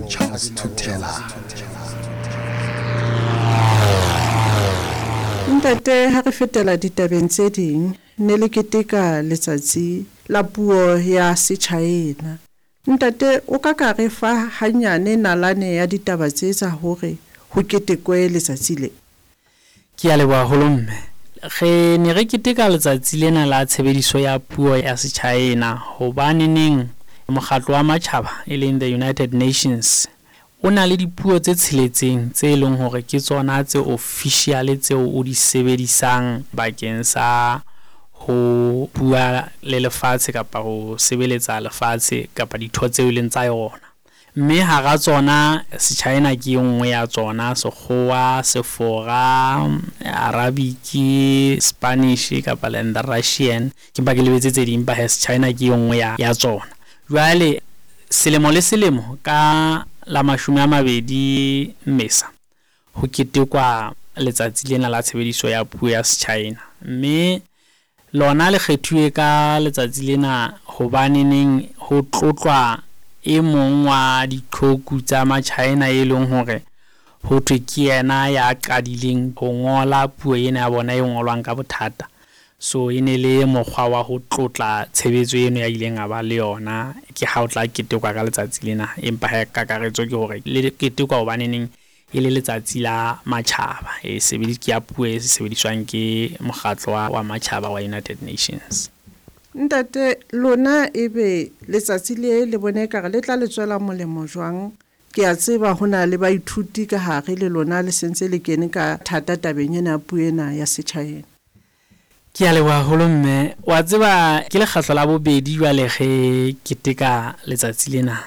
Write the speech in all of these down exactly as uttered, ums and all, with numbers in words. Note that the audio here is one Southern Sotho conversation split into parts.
Charles Thutela. Ntate, ha re fetela ditabeng tse ding, ne le keteka letsatsi la puo ya Sechaena. Ntate, o ka ka re fa hanyane nalane ya ditaba tse tsa hore ho ketekwe letsatsi le? Ke a leboha haholo mme. Re ne re keteka letsatsi lena la tshebediso ya puo ya Sechaena hobaneneng mokgatlo wa matjhaba e leng the United Nations o na le dipuo tse tsheletseng tse leng hore ke tsona tse official tseo o di sebedisang bakeng sa ho bua le lefatshe kapa ho sebeletsa lefatshe kapa ditho tseo e leng tsa yona. Mme hara tsona Sechaena ke e nngwe ya tsona, Sekgowa, Sefora, Arabic, Spanish kapa le the Russian. Ke mpa ke lebetse tse ding, empa hee Sechaena ke e nngwe ya, ya tsona. Jwale selemo le selemo ka la mashome a mabedi Mmesa ho ketekwa letsatsi lena la tshebediso ya puo ya Sechaena. Mme lona le kgethuwe ka letsatsi lena hobaneneng ho tlotlwa e mong wa diqhoku tsa Machaena e leng hore ho thwe ke yena ya qadileng ho ngola puo ena ya bona e ngolwang ka bothata. So e ne le mokgwa wa ho tlotla tshebetso eno ya ileng a ba le yona, ke ha o tla ketekwa ka letsatsi lena. Empa hee kakaretso ke hore le ketekwa hobaneneng e le letsatsi la matjhaba e sebedi ke ya puo e sebediswang ke mokgatlo wa, wa matjhaba wa United Nations. Ntate, lona ebe letsatsi le le bone ekare le tla le tswela molemo jwang? Ke a tseba ho na le baithuti ka hare le lona le sentse le kene ka thata tabeng ena ya puo ena ya Sechaena. Ke a leboha haholo mme. Wa tseba ke lekgetlo la bobedi jwale re keteka letsatsi lena.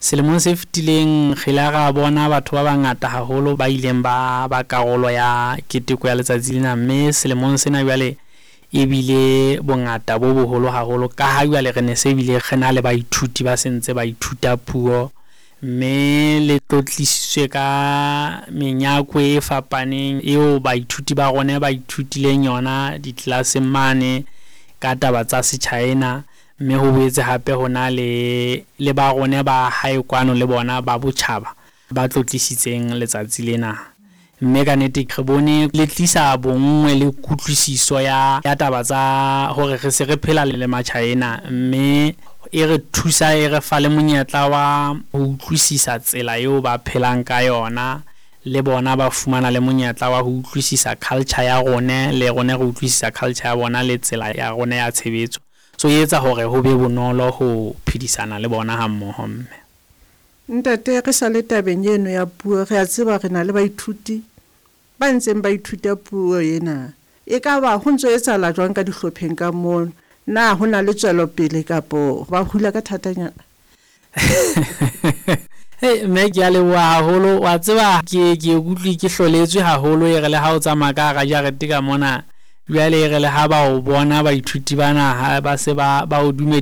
Selemong se fetileng re ile ra bona batho ba bangata haholo ba ileng ba ba karolo ya keteko ya letsatsi lena, mme selemong sena jwale ebile bongata bo boholo haholo ka ha jwale re ne se bile re na le baithuti ba sentse ba ithuta puo, mme le tlotlisitswe ka menyakwe e fapaneng eo baithuti ba rona ba ithutileng yona ditlelaseng mane ka taba tsa Sechaena. Mme ho boetse hape ho na le le ba rona ba hae kwano le bona ba botjhaba ba tlotlisitseng letsatsi lena. Mme ka nnete re bone le tlisa bonngwe le kutlwisiso ya, ya taba tsa hore re se re phela le Machaena, mme e re thusa e re fa le monyetla wa ho utlwisisa tsela eo ba phelang ka yona, le bona ba fumana le monyetla wa ho utlwisisa culture ya rone, le rone re utlwisisa culture ya bona le tsela ya rone ya tshebetso. So e etsa hore ho be bonolo ho phedisana le bona ha mmoho mme. Ntate, re sa le tabeng eno ya puo, re a tseba re na le baithuti ba ntseng ba ithuta puo ena. E ka ba ho ntso etsahala jwang ka dihlopheng ka moo? Na ho na le tswelopele kapo ba hula ka thatanyana? Hey, mme ke a leboha haholo. Wa tseba ke ke ikutlwe ke hloletswe haholo e re le ha o tsamaya ka hara jarete ka mona, jwale e re le ha ba o bona baithuti bana ha ba se ba ba o dumedisa.